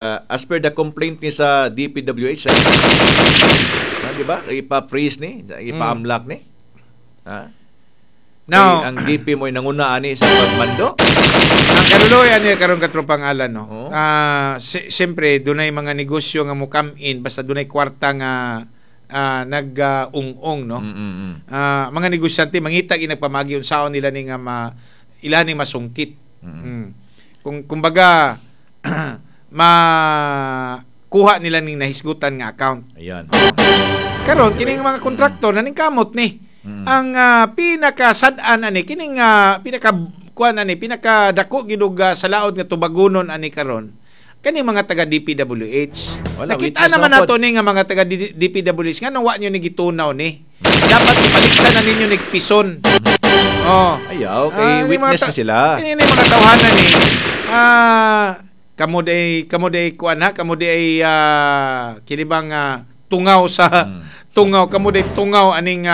As per the complaint ni sa DPWH, di ba? Ipa-freeze ni, ipa-amlak ni. Ha? Now, kay ang DP mo'y nanguna ani sa pagmando. Ang kaluloy ani karon, katropang Alan, no. Oo. Siyempre dunay mga negosyo nga mo come in basta dunay kwarta nga nag-ung-ung, no. Mga negosyante mangita gi nagpamagi unsaon nila ni nga ma ila ni masungkit. Kung kumbaga makuha nila ning nahisgutan nga account. Ayan. Karon kining mga kontraktor na ning kamot ni. Ang pinakasad-an ani kining pinaka kuan ani, pinaka dako gid og sa laod nga tubagunon ani karon kani mga taga DPWH. Wala, nakita witness naman na nato ni nga mga taga DPWH, nganong wa nyo ni gitunaw ni? Dapat ipaliksan na ninyo ni pison. Oh. Ayaw, kay Ni mga witness na sila. Kini ni mga tawhanan ni kamo day kuan ha, kamo day kini bang tungaw sa tungaw, kamo day tungaw aning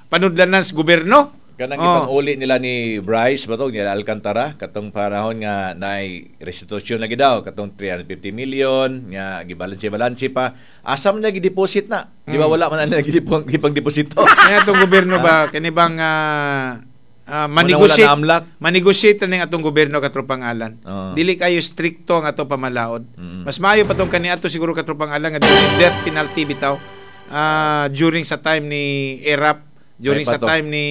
panudlanan sa gobyerno. Kanang ipang-uli nila ni Bryce ba to, nila Alcantara, katong panahon nga naay restitution lagi daw, katong 350 million nga gibalanse-balanse pa. Asa man niya gideposit na? Di ba wala man na gipang deposito? Kaya atong gobyerno ba, kini bang Munang wala manegotiate na amlak. Manegotiate na ning atong gobyerno, katropang Alan. Dili kayo strikto ang atong pamalaod. Mas maayo pa tong kaniadto siguro, katropang Alan, nga dunay death penalty bitaw during sa time ni Erap, during May pa sa to. time ni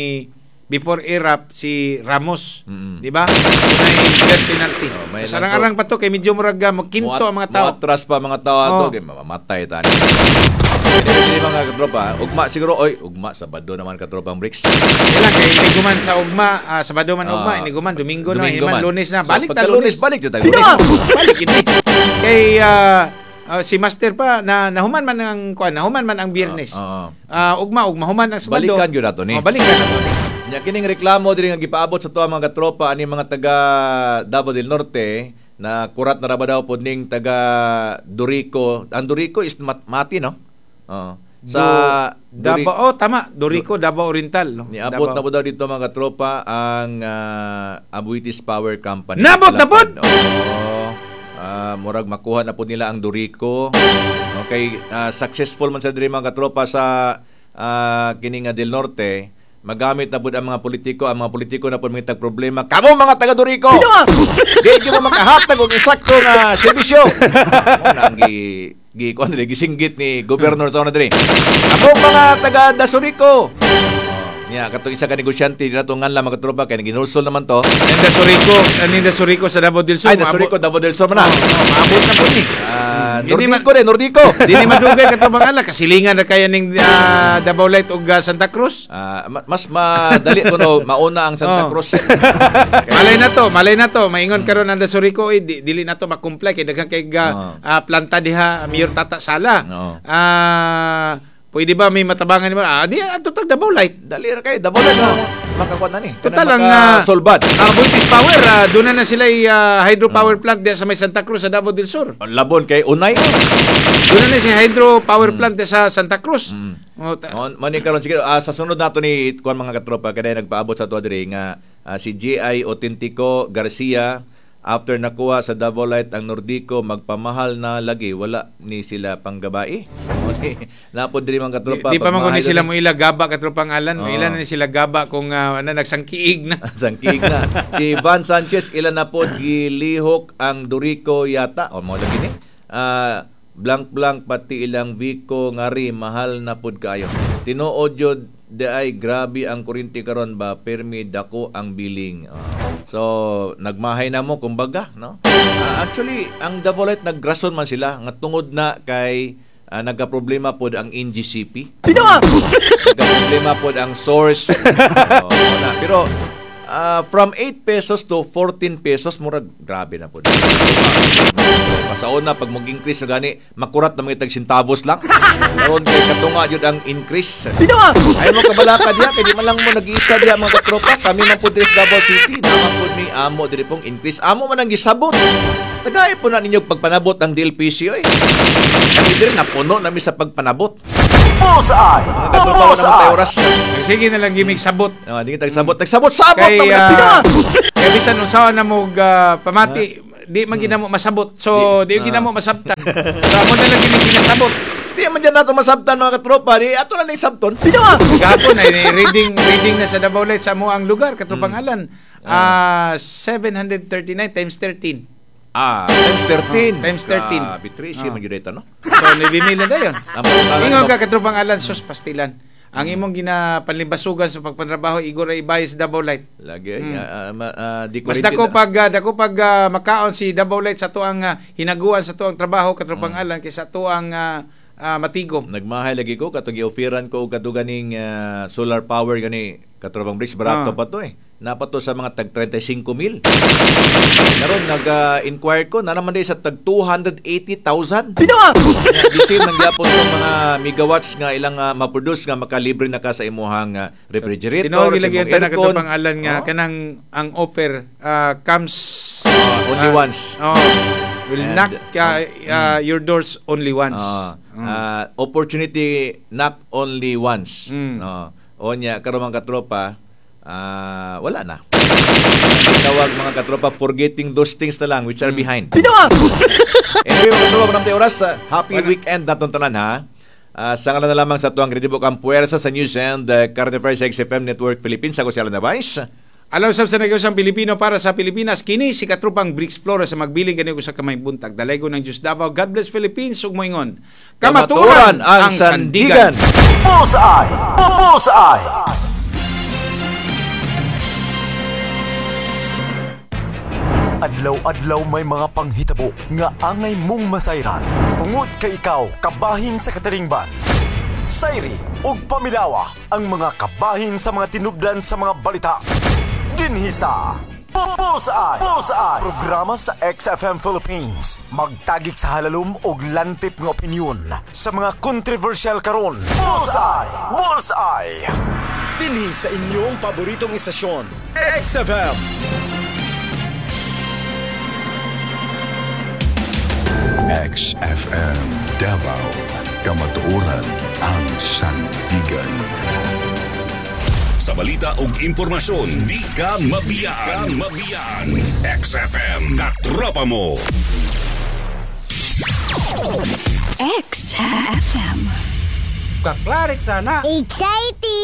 before Erap, si Ramos, di ba? Dunay death penalty. Oh, may Mas arang-arang pa to kay medyo murag magkinto ang mga tao. Muatras pa mga tao ato, kay mamamatay tani. Dili mga katropa, ugma siguro, oy, ugma Sabado naman, katropang Bricks. Kailan kay iniguman sa ugma, Sabado man ugma, iniguman Domingo na, Domingo himan man. Lunes na, So, balik ta pagka Lunes. Lunes, balik ta Lunes. Balik ini. Kay si Master pa na nahuman man ang kuan, nahuman man ang Biyernes. Ugma ugma human ang Sabado. Balikan gyud nato ni. Oh, balikan nato ni. Nya kining reklamo diri nga gipaabot sa tuwa mga katropa ani mga taga Davao del Norte na kurat na ra ba daw pod ning taga Dorico. Ang Dorico is Mati, no? Oo. Sa Davao, oh, tama, Dorico, Davao Oriental, no. Niabot Davao. na po daw dito, mga katropa, ang Aboitiz Power Company. Nabot na pod? Oo. Murag makuha na po nila ang Dorico. Okay, successful man sa diri, mga katropa, sa kini nga del Norte, magamit na pud ang mga politiko, ang mga politiko na pud mangitag problema. Kamo mga taga Dorico. Di gyud mo makahatag og insakto nga serbisyo. Mo na ang gi gi kuan diri, gisinggit ni Governor sa una diri. Ako mga taga Dasurico. Oh, niya katong isa ka negosyante dira to nganla, mga katropa, kay ginulsol naman to. Ninda Surico, Ninda Surico sa Davao del Sur. Ay, Dasurico, Davao del Sur man na. Oh, maabot na po ni. Hindi Nordico rin, Nordico. Dili madugay, katong ala, kasilingan na kaya ning Davao Light ug Santa Cruz. Mas madali kuno mauna ang Santa Cruz. Malay na to, malay na to. Maingon karon ang Dasurico, eh, dili na to ma-comply kay daghan kay planta diha, Mayor Tata Sala. Pwede ba may matabangan nimo? Di adto tag Davao Light. Dali ra kay Davao Light na makakuan na ni. Total ang solbad. Aboitiz Power, doon na na sila hydropower plant diha sa may Santa Cruz sa Davao del Sur. Labon kay unay. Doon na na si hydro power plant diha sa Santa Cruz. Oh, On man ni karon sige, sa sunod nato ni kuan, mga katropa, kay nagpaabot sa ato diri nga si GI Autentico Garcia, after nakuha sa Davao Light ang Nordico, magpamahal na lagi, wala ni sila panggabai. Napod diri, mga katropa. Di pa man kuno pagmahal sila ni mo ila gaba, katropang Alan, mo ila na ni sila gaba kung ano, nagsangkiig na. Sangkiig na. Si Van Sanchez, ilan na po gilihok ang Dorico yata. O mo lagi ni. Blank blank pati ilang Vico ngari mahal na pud kaayo. Tinuod jud di ay grabe ang kuryente karon ba, permi dako ang billing. So nagmahay na mo kumbaga, no? Actually ang Davao Light nagrason man sila nga tungod na kay nagka-problema pod ang NGCP. Nagka-problema pod ang source. Oo, na. Pero from 8 pesos to 14 pesos, murag grabe na pod. Sa una, pag mag-increase na gani, makurat na mga tag centavos lang. Karon kay katunga jud ang increase. Ay mo kabalaka diha kay di man lang mo nag-iisa diha, mga katropa, kami man pud diri sa Davao City, naman pud mi amo diri pong increase. Amo man ang gisabot. Tagay po na ninyo pagpanabot ang DLPC oy. Kami diri napuno nami sa pagpanabot. Bullseye! Mga katropa, wala man tayo Bullseye! oras. Sige na lang gimig sabot. Ah, di kita nagsabot. Nagsabot-sabot Kay na mga kay bisan unsaon na mo pamati, di man ginamo masabot. So di ginamo masabtan. So amo na lang gini ginasabot. Di man dyan nato masabtan, mga katropa. Di ato na ning sabton. Gahapon ay reading reading na sa Davao Light sa amo ang lugar, katropang Alan. 739 times 13. Ah, times 13. Oh, times 13. Grabe, Tracy, man yun no? So 9,000 na dayon. Ang pangalan Ingon mo- ka, katropang Alan, sus pastilan. Ang imong ginapanlimbasugan sa pagpanrabaho igor ay ibayas sa Davao Light. Lagi, di ko Mas rin dako pag makaon si Davao Light sa tuang hinaguan sa tuang trabaho, katropang Alan, kaysa tuang matigom. Nagmahay lagi ko katong gi-offeran ko og kadto ganing solar power gani, katropang Bricks, barato pa to eh. Napa to sa mga tag 35 mil. Karon nag-inquire ko na naman di sa tag 280,000. Pinoa. Bisin man gyapon tong mga megawatts nga ilang ma-produce nga makalibre na ka sa imuhang refrigerator, Tinuod sa lagi imong ang tanan, aircon. katropang Alan, nga Oh. kanang ang offer comes Only once. Oh, will And, knock your doors only once. Opportunity not only once. No. O nya karon, mga katropa, wala na. Tawag, mga katropa, forgetting those things na lang which are behind. Anyway, mga katropa, maraming oras. Happy Wala. weekend natong tanan ha. Sa ngalan na lamang sa tuang Kredibo Kampuersa sa News and Current Affairs XFM Network Philippines. Ako si Alan Navais. Alaw sab sa negosyo Pilipino para sa Pilipinas, kini si Katrupang Bricks Flores sa magbiling kaniyo sa kamay buntag. Dalaygon ng Diyos Davao. God bless Philippines ug moingon. Kamaturan ang sandigan. Bullseye! Bullseye! Adlaw-adlaw may mga panghitabo nga angay mong masayran. Tungod kay ikaw kabahin sa katilingban. Sayri ug pamilawa ang mga kabahin sa mga tinubdan sa mga balita. Dinhi sa Bullseye! Bullseye! Programa sa XFM Philippines. Magtagik sa halalom og lantip nga opinyon sa mga controversial karon. Bullseye! Bullseye! Dinhi sa inyong paboritong istasyon, XFM. XFM Davao. Kamatuoran ang sandigan. Sa balita ug impormasyon, di ka mabiyaan. Di ka mabiyaan. XFM, katropa mo. XFM. Kaklarik sana. Exciting!